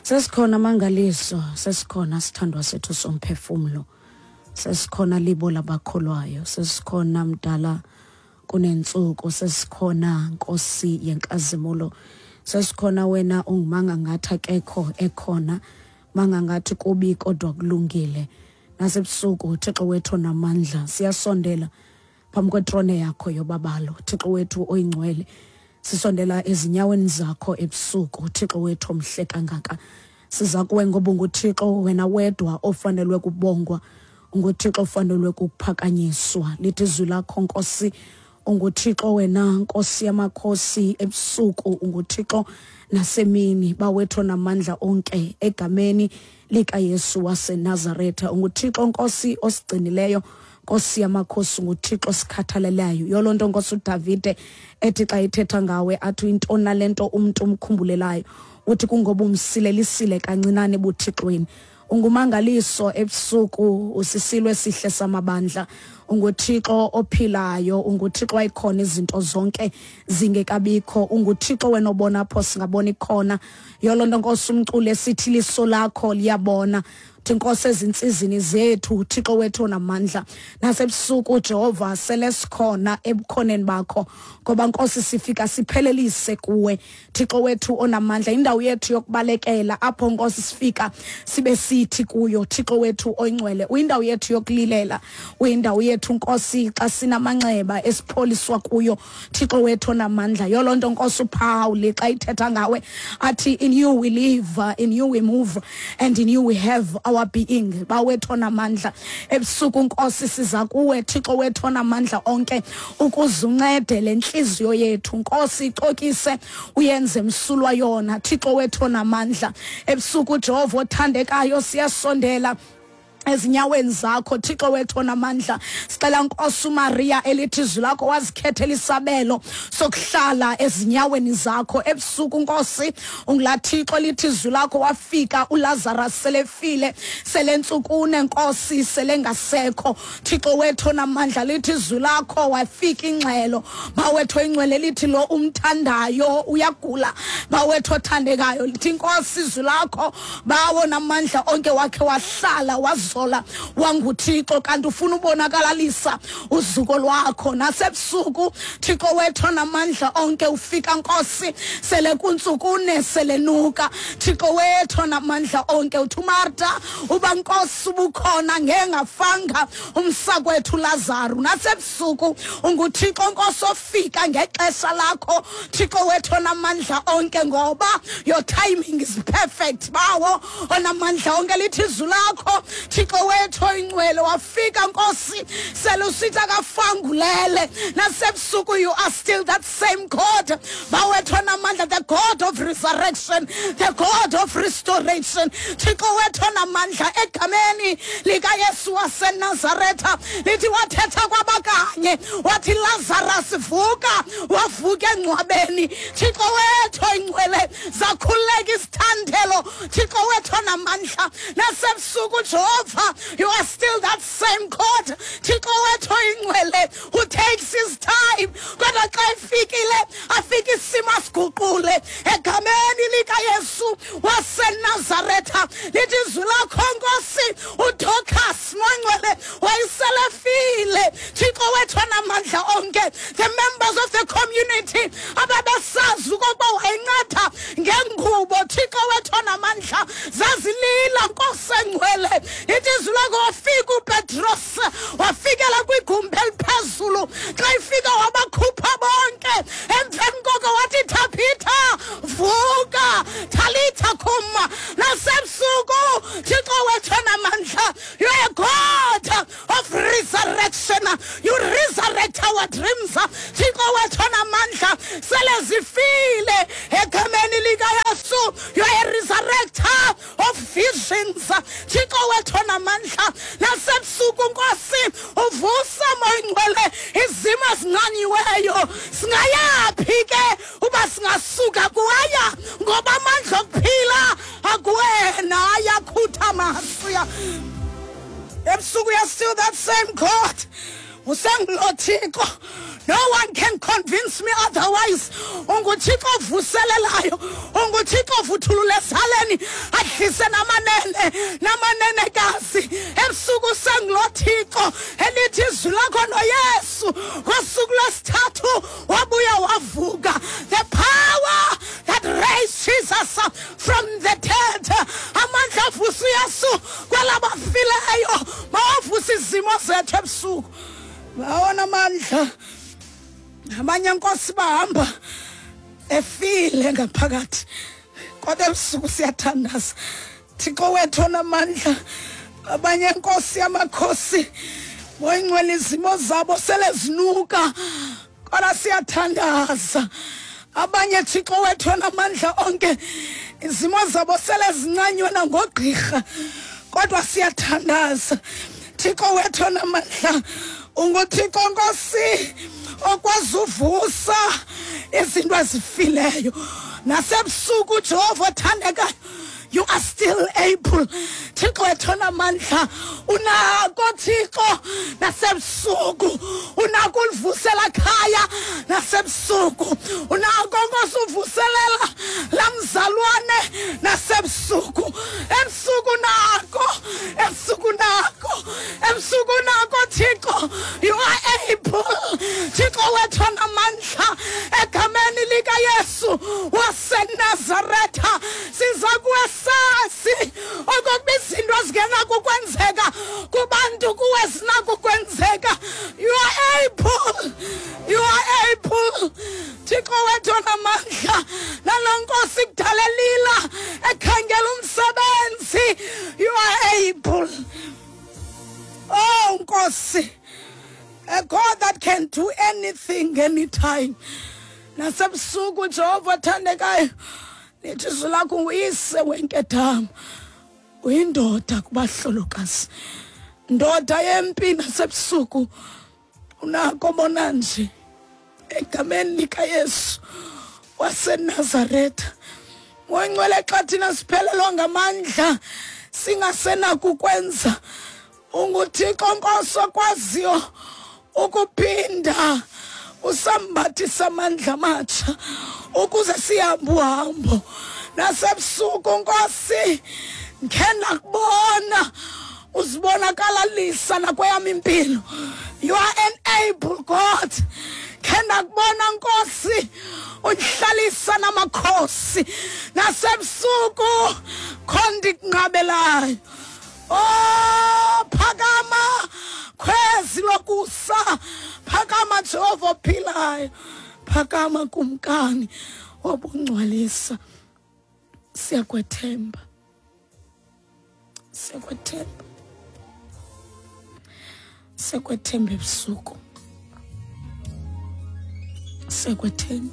Sesikhona mangaliso, sesikhona sithandwa sethu somphefumlo. Sesikhona libo labakholwayo, sesikhona mdala kunentsuku, sesikhona Nkosi yenkazimulo. Sesikhona wena ungumanga ngathi akekho ekhona, manga ngathi kubi kodwa kulungile. Nasebusuku Thixo wethu namandla, siyasondela phambi kwetrone yakho yobabalo. Thixo wethu oyingcwele, sisondela ezinyaweni zakho ebusuku. Thixo wethu omhle kangaka, siza kuwe ngoba unguThixo wena wedwa ofanelwe kubongwa, unguThixo ofanelwe kuphakanyiswa. Lithi izwi lakho Nkosi, unguThixo wena Nkosi yamakhosi ebusuku, unguThixo nasemini, bawethu namandla onke egameni likaYesu waseNazaretha. UnguThixo Nkosi osigcinileyo, Nkosi yamakhosi, unguThixo osikhathalelayo. Yolo nto Nkosi uDavide ethi xa ethetha ngawe athi intoni nale nto umntu umkhumbulelayo, uthi kungoba umsilelisile kancinane ebuthixweni. Ungumangaliso ebusuku, usisilo esihle samabandla, unguThixo ophilayo, unguThixo wayikhona izinto zonke zingekabikho, unguThixo wena obona apho singaboni khona. Yolo nto Nkosi umculo esithi liso lakho liyabona. Thi Nkosi ezintsizini zethu, Thixo wethu onamandla, nasebusuku Jehova sele sikhona ebukhoneni bakho, ngoba Nkosi sifika siphelelise kuwe Thixo wethu onamandla, indawo yethu yokubalekela apho Nkosi sifika sibe sithi kuyo Thixo wethu oyingcwele, uyindawo yethu yokulilela, uyindawo yethu Nkosi xa sinamanxeba esipholiswa kuyo Thixo wethu onamandla. Yolo nto Nkosi uPaul xa ithetha ngawe athi in you we live, in you we move and in you we have our being. Bawethu onamandla, ebusuku Nkosi siza kuwe Thixo wethu onamandla onke ukuze uncede le ntliziyo yethu Nkosi, icokise uyenze msulwa yona Thixo wethu onamandla. Ebusuku Jehova othandekayo siyasondela ezinyaweni zakho Thixo wethu onamandla. Sicela Nkosi uMaria elithi izwi lakho wazikhethela isabelo sokuhlala ezinyaweni zakho ebusuku Nkosi. Ungula Thixo lithi izwi lakho wafika uLazarus selefile selentsukune Nkosi selengasekho. Thixo wethu onamandla, lithi izwi lakho wafika ingxelo bawethu oyingcwele lithi lo umthandayo uyagula bawethu othandekayo. Lithi Nkosi izwi lakho bawo namandla onke wakhe wahlala wazola wanguThixo, kanti ufuna ubonakalalisa uzuko lwakho nasebusuku Thixo wethu onamandla onke. Ufika Nkosi sele kuntsukune selenuka Thixo wethu onamandla onke. Uthi uMarta uba Nkosi ubukhona ngengafanga umsakwethu Lazaro. Nasebusuku unguThixo Nkosi ofika ngexesha lakho Thixo wethu onamandla onke, ngoba your timing is perfect bawo onamandla onke. Lithi izwi lakho Thixo wethu oyingcwele wafika Nkosi sele usithi akafangulele. Nasebusuku you are still that same God bawethu onamandla, the God of resurrection, the God of restoration. Thixo wethu onamandla, egameni likaYesu waseNazaretha, lithi wathetha kwabakanye wathi Lazarus vuka, wavuka engcwabeni. Thixo wethu oyingcwele, zakhululeka isithandelo Thixo wethu onamandla. Nasebusuku Jehova you are still that same God Thixo wethu oyingcwele who takes his time, kodwa xa efikile afike isimo asiguqule egameni likaYesu waseNazaretha. Lithi izwi lakho Nkosi uDorcas mongcwele wayeselefile Thixo wethu onamandla onke. The members of the community ababesazi okokuba wayenceda ngengubo Thixo wethu onamandla zazilila Nkosi engcwele. Lithi izwi lakho wafika uPetros wafikela kwigumbi eliphezulu, xa ifika wabakhupha bonke. Emveni koko wathi Thabitha vuka, Talitha kum. Nasebusuku Thixo wethu onamandla, you are a God of resurrection, you resurrect our dreams Thixo wethu onamandla, sele zifile egameni likaYesu. You are a resurrector of visions Thixo wethu onamandla. Nasebusuku Nkosi uvusa moyingcwele izimo ezinqanyiweyo. Singayaphi ke uba singasuka kuwaya, ngoba amandla okuphila akuwena ayakhutha masiya. Ebusuku you are still that same God, usengulo Thixo. No one can convince me otherwise. UnguThixo ovuselelayo, unguThixo. ovuthulula esaleni adlise namanene namanenekazi. Ebusuku sengulo Thixo elithi izwi lakho noYesu ngosuku lwesithathu wabuya wavuka. The power that raised Jesus from the dead, amandla avusa uYesu kwelabafileyo, mawavusa izimo zethu ebusuku. Bawona amandla. Abanye nkosi bahamba efile ngaphakathi, kodwa ebusuku siyathandaza. Thixo wethu onamandla, abanye nkosi yamakhosi boyingcwele izimo zabo sele zinuka, kodwa siyathandaza. Abanye Thixo wethu onamandla onke, izimo zabo sele zincanywe nangogqirha, kodwa siyathandaza. Thixo wethu onamandla, unguThixo nkosi okwazi uvusa izinto ezifileyo. Nasebusuku Jehova othandekayo, you are still able. Thixo wethu onamandla, unako Thixo nasebusuku, unako ulivusela khaya nasebusuku, unako nkosi uvuselela lamzalwane nasebusuku. Ebusuku nako, ebusuku nako, ebusuku nako Thixo, you are able. Thixo wethu onamandla, egameni likaYesu waseNazaretha, siza kuwe sasi okokuba izinto ezingenakukwenzeka kubantu kuwe zinakukwenzeka. You are able, you are able. Thixo wethu onamandla, nalo nkosi kudala elila ekhangela umsebenzi, you are able. Oh Nkosi, a God that can do anything anytime. Nasebusuku Jehova othandekayo, lithi izwi lakho nguyise wenkedama, uyindoda kubahlolokazi, ndoda yempi. Nasebusuku unako bona nje, egameni likaYesu waseNazaretha. Moyingcwele, xa thina siphelelwa ngamandla singasenakukwenza, unguThixo nkosi okwaziyo ukuphinda usambathisa amandla amatsha ukuze sihambe uhambo. Nasebusuku nkosi, ngikhe ndakubona uzibonakalalisa nakweyam impilo. You are an able God. Khe ndakubona nkosi uhlalisa namakhosi. Nasebusuku kho ndikunqabelayo. Oh, phakama khwezi lokusa, phakama Jehova ophilayo, phakama kumkani wobungcwalisa. Siyakwethemba, siyakwethemba, siyakwethemba ebusuku, siyakwethemba.